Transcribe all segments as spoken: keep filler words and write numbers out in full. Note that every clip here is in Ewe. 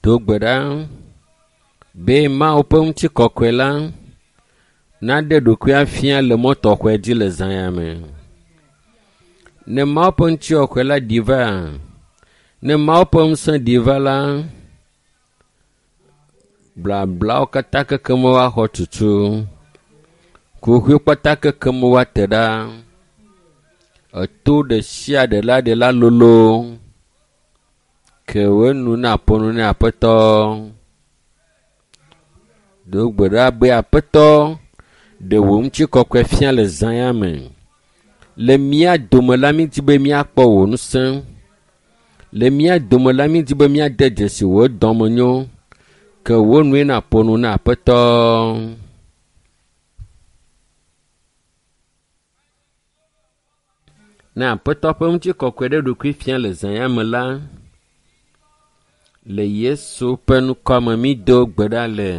Do gbe ɖa be Mawu ƒe ŋutikɔkɔe la naɖe ɖokuia fia le mɔ tɔxɛ dzi le zã ya me. Ne Mawu ƒe ŋutikɔkɔe la ɖi va, ne Mawu ƒe ŋusẽ ɖi va la, blablawo katã kekem woaxɔ tutu. Kuxiwo kpata kekem woate ɖa. Eto ɖe sia ɖe la ɖe la lolo. Ke wo nu na ƒo nu na Aƒetɔ. Do gbe ɖa be Aƒetɔ ɖe wò ŋutikɔkɔe fia le zã ya me. Le mía dome la mídi be míakpɔ wò ŋusẽ. Le mía dome la mídi be míade dzesi wò dɔmenyo. Ke wò nue naƒo nu na Aƒetɔ. Ne Aƒetɔ ƒe ŋutikɔkɔe ɖe ɖokui fia le zã ya me la, le Yesu ƒe ŋkɔ me mído gbe ɖa le.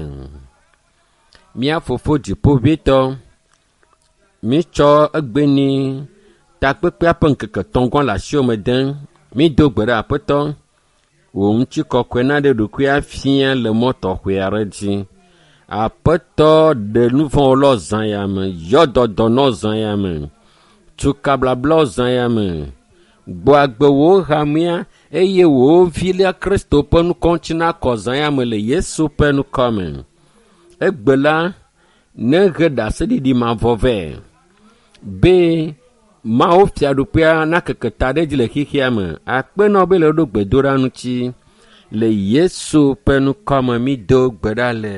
Mía fofo dziƒoʋĩtɔ, mítsɔ egbeni takpekpea ƒe ŋkeke etɔ̃ le asiwò me dem. Mído gbe ɖa Aƒetɔ, wò ŋutikɔkɔe naɖe ɖokui afia le mɔ tɔxɛ aɖe dzi. Aƒetɔ ɖe nu vɔ̃wo lɔ zã ya me, yɔ dɔdɔ nɔ zã ya me, tu kablablawo zã ya me, gbɔ agbe wò hamea eye wò vi la Kristo ƒe ŋkɔ ŋuti nakɔ zã ya me le Yesu ƒe ŋkɔ me. Egbe la, nehe ɖaseɖiɖi mavɔ vɛ be Mawu fiaɖuƒea nakeke ta ɖe edzi le xexea me. Akpe na wo be le ɖo gbedoɖa ŋuti. Le Yesu ƒe ŋkɔ me mído gbe ɖa le.